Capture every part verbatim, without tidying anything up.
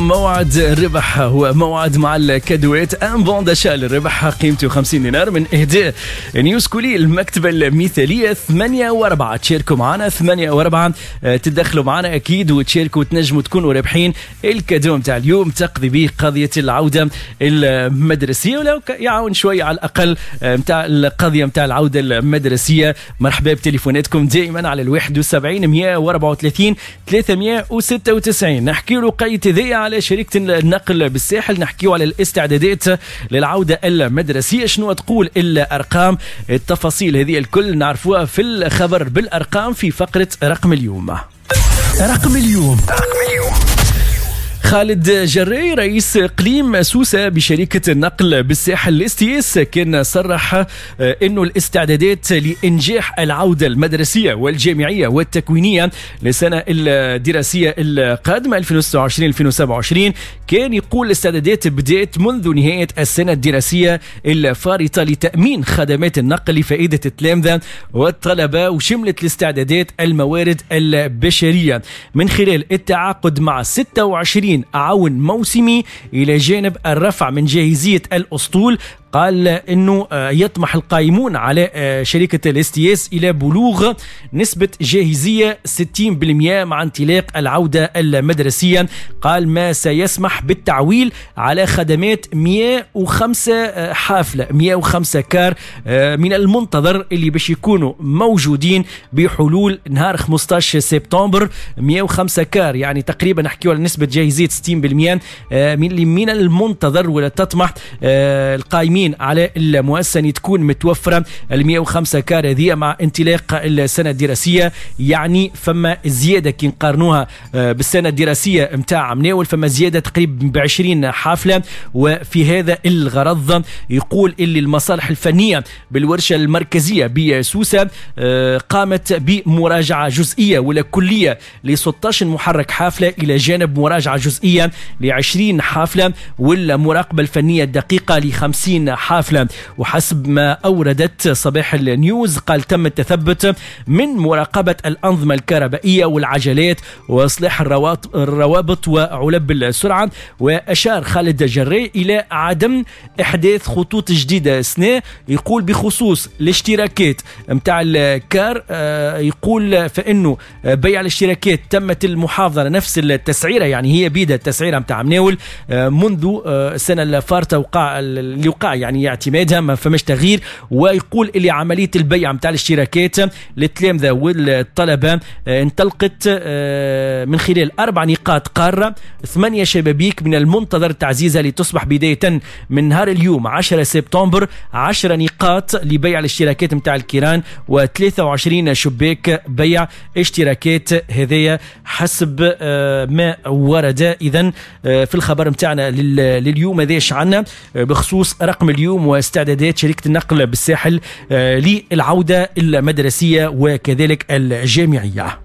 معكم موعد الربح، هو موعد مع الكادوات، un bon d'achat للربح قيمته خمسين دينار من اهداء نيوز كولي المكتبة المثاليه. ثمانية وأربعة تشاركوا معنا، ثمانية وأربعة تدخلوا معنا اكيد وتشاركوا وتنجموا تكونوا رابحين ال cadeau نتاع اليوم، تقضي به قضية العودة المدرسية ولو يعاون شوية على الاقل نتاع القضية نتاع العودة المدرسيه. مرحبا بتليفوناتكم دائما على الواحد وسبعين مئة وأربعة وثلاثين ثلاثمئة وستة وتسعين. نحكي له قيت ذي على شركة النقل بالساحل، نحكيو على الاستعدادات للعودة المدرسية، شنو تقول الأرقام، التفاصيل هذه الكل نعرفوها في الخبر بالأرقام في فقرة رقم اليوم. رقم اليوم رقم اليوم. خالد جري رئيس اقليم سوسة بشركة النقل بالساحل STS كان صرح انه الاستعدادات لانجاح العودة المدرسية والجامعية والتكوينية للسنة الدراسية القادمة ألفين وستة وعشرين ألفين وسبعة وعشرين، كان يقول الاستعدادات بدأت منذ نهاية السنة الدراسية الفارطة لتأمين خدمات النقل لفائدة التلامذة والطلبة، وشملت الاستعدادات الموارد البشرية من خلال التعاقد مع ستة وعشرين عون موسمي إلى جانب الرفع من جاهزية الأسطول. قال انه يطمح القائمون على شركة ال STS الى بلوغ نسبة جاهزية ستين بالمئة مع انطلاق العودة المدرسية. قال ما سيسمح بالتعويل على خدمات مئة وخمسة حافلة، مئة وخمسة car من المنتظر اللي باش يكونوا موجودين بحلول نهار خمسة عشر سبتمبر. مئة وخمسة car يعني تقريبا نحكيو على نسبة جاهزية ستين بالمئة من من المنتظر، ولا تطمح القائمين على المؤسسة أن تكون متوفرة ال مئة وخمسة car هذه مع انطلاق السنة الدراسية. يعني فما زيادة كي نقارنوها بالسنة الدراسية متاع مناول، فما زيادة تقريبا ب عشرين حافلة. وفي هذا الغرض يقول اللي المصالح الفنية بالورشة المركزية بسوسة قامت بمراجعة جزئية ولا كلية ل ستة عشر محرك حافلة، إلى جانب مراجعة جزئية ل عشرين حافلة والمراقبة الفنية الدقيقة ل خمسين حافلة. وحسب ما أوردت صباح النيوز قال تم التثبت من مراقبة الأنظمة الكهربائية والعجلات وإصلاح الروابط وعلب السرعة. وأشار خالد جري إلى عدم إحداث خطوط جديدة سنة. يقول بخصوص الاشتراكات متاع الكار، يقول فإنه بيع الاشتراكات تمت المحافظة على نفس التسعيرة، يعني هي بيدها التسعيرة متاع مناول منذ السنة الفارطة وقع اللي وقع يعني اعتمادها، ما فماش تغيير. ويقول اللي عملية البيع متاع الاشتراكات للتلامذة والطلبة انطلقت من خلال أربع نقاط قارة، ثمانية شبابيك من المنتظر تعزيزها لتصبح بداية من نهار اليوم عشرة سبتمبر عشرة نقاط لبيع الاشتراكات متاع الكيران وثلاثة وعشرين شباك بيع اشتراكات، هذايا حسب ما ورد. إذن في الخبر متاعنا لليوم هذاش عنا بخصوص رقم اليوم واستعدادات شركة النقل بالساحل للعودة المدرسية وكذلك الجامعية.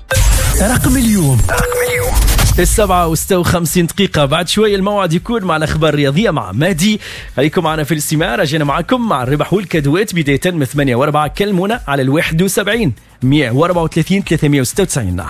رقم اليوم رقم اليوم السبعة وستة وخمسين دقيقة. بعد شوي الموعد يكون مع الأخبار الرياضية مع مادي. خليكم معنا في الاستماع، رجعنا معكم مع الربح والكادوات بداية من ثمانية وأربعة. كلمونا على الواحد وسبعين مئة وأربعة وثلاثين ثلاثمئة وستة وتسعين.